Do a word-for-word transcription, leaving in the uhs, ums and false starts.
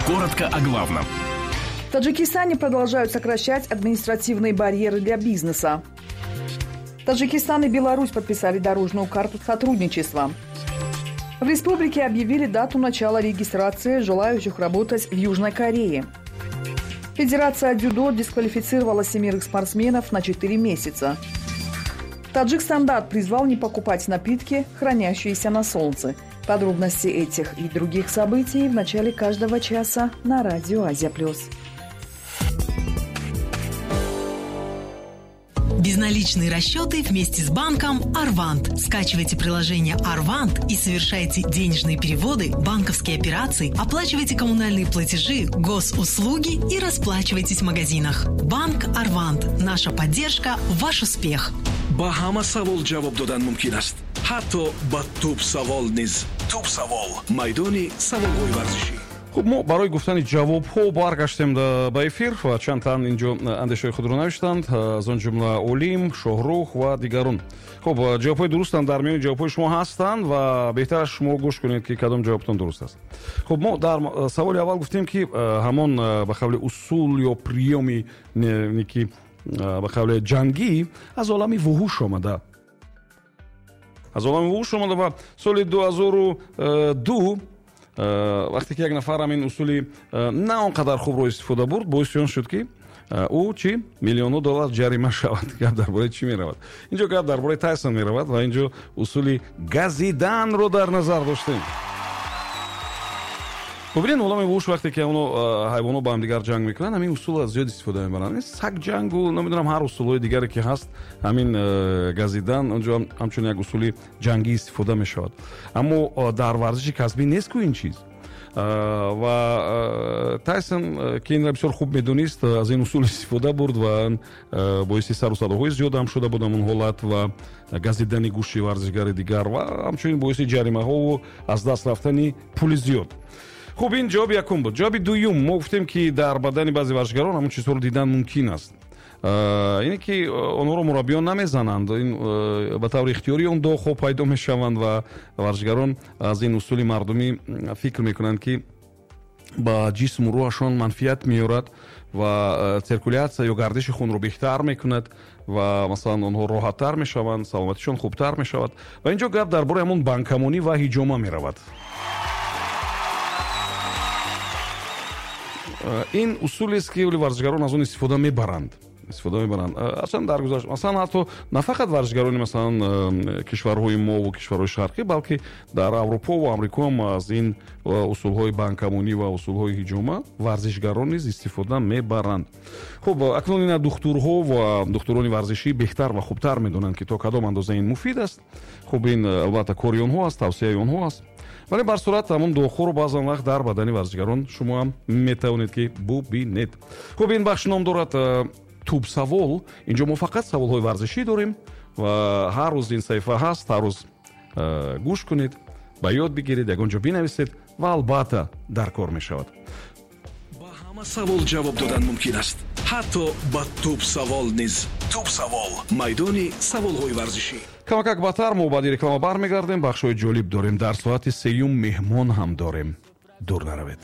Коротко о главном. В Таджикистане продолжают сокращать административные барьеры для бизнеса. Таджикистан и Беларусь подписали дорожную карту сотрудничества. В республике объявили дату начала регистрации желающих работать в Южной Корее. Федерация дзюдо дисквалифицировала семерых спортсменов на четыре месяца. Таджикстандарт призвал не покупать напитки, хранящиеся на солнце. Подробности этих и других событий в начале каждого часа на радио Азия Плюс. Безналичные расчеты вместе с банком «Арвант». Скачивайте приложение «Арвант» и совершайте денежные переводы, банковские операции, оплачивайте коммунальные платежи, госуслуги и расплачивайтесь в магазинах. Банк «Арвант». Наша поддержка – ваш успех. Ба ҳама савол ҷавоб додан мумкин аст. Ҳатто ба тӯб савол низ. Тӯб савол. Майдони саволҳои варзишӣ. Хуб, мо барои гуфтани ҷавобҳо баргаштем ба эфир ва чанд тан инҷо андешаҳои худро навиштанд, аз он ҷумла Олим, Шоҳрух ва дигарон. Хуб, ҷавобҳои дурустам дар миёни ҷавобҳои шумо ҳастанд ва беҳтар аст шумо гӯш кунед, ки кадом ҷавобтон дуруст аст. Хуб, мо дар саволи аввал гуфтем, ки ҳамон ба қавли усул ё приёми ки ба қавли ҷангӣ аз олами вуҳуш омада. Аз олами вуҳуш омада ва соли ду ҳазору ду вақте ки як нафар ҳамин усули на он қадар хубро истифода бурд, боиси он шуд, ки ӯ чӣ миллионҳо доллар ҷарима шавад. Гап дар бораи чӣ меравад? Инҷо гап дар бораи Тайсон меравад ва инҷо усули газиданро дар назар доштем. Бубинед, олами вуҳуш вақте ки оно ҳайвонҳо ба ҳамдигар ҷанг мекунанд, ҳамин усулро зиёд истифода мебаранд. Сагҷангу намедонам ҳар усулҳои дигаре ки ҳаст, ҳамин газидан онҷо ҳамчун як усули ҷангӣ истифода мешавад. Аммо дар варзиши касбӣ нест ку ин чиз. Ва Тайсон, ки инро бисёр хуб медонист, аз ин усул истифода бурд ва боиси сару садоҳои зиёд ҳам шуда буд ҳамон ҳолат ва газидани гӯши варзишгари дигар ва ҳамчунин боиси ҷаримаҳову аз даст рафтани пули зиёд. Хуб, ин ҷавоби якум буд. Ҷавоби дуюм, мо гуфтем, ки дар бадани баъзе варзишгарон ҳамон чизҳоро дидан мумкин аст. Ине ки онҳоро мураббиён намезананд, ин ба таври ихтиёрӣ он доғҳо пайдо мешаванд ва варзишгарон аз ин усули мардумӣ фикр мекунанд, ки ба ҷисму рӯҳашон манфиат меорад ва циркулятсия ё гардиши хунро беҳтар мекунад ва масалан онҳо роҳаттар мешаванд, саломатишон хубтар мешавад. Ва инҷо гап дар бораи ҳамон банкамонӣ ва ҳиҷома меравад. Ин усулест, ки варзишгарон аз он истифода мебаранд. Истифода мебаранд. Аслан дар гузашта, масалан ҳатто на фақат варзишгарони масалан кишварҳои мо ва кишварҳои шарқӣ, балки дар Аврупо ва Амрико ҳам аз ин усулҳои банкамонӣ ва усулҳои ҳиҷома варзишгарон низ истифода мебаранд. Хуб, акнун ина духтурҳо ва духтурони варзишӣ беҳтар ва хубтар медонанд, ки то кадом андоза ин муфид аст. Хуб, ин албатта кори онҳо аст, тавсияи онҳо аст. Вале бар сурат ҳамон доғҳоро баъзан вақт дар бадани варзишгарон шумо ҳам метавонед, ки бубинед. Хуб, ин бахш ном дорад тӯб савол. Инҷо мо фақат саволҳои варзишӣ дорем ва ҳар рӯз ин саҳифа ҳаст, ҳар рӯз гӯш кунед, ба ёд бигиред, ягон ҷо бинависед ва албатта дар кор мешавад. Ба ҳама савол ҷавоб додан мумкин аст, ҳатто ба тӯб савол низ. Тӯб савол. Майдони саволҳои варзишӣ. Камакак батар мо баъди реклама бармегардем. Бахшҳои ҷолиб дорем. Дар соати сеюм меҳмон ҳам дорем. Дур наравед.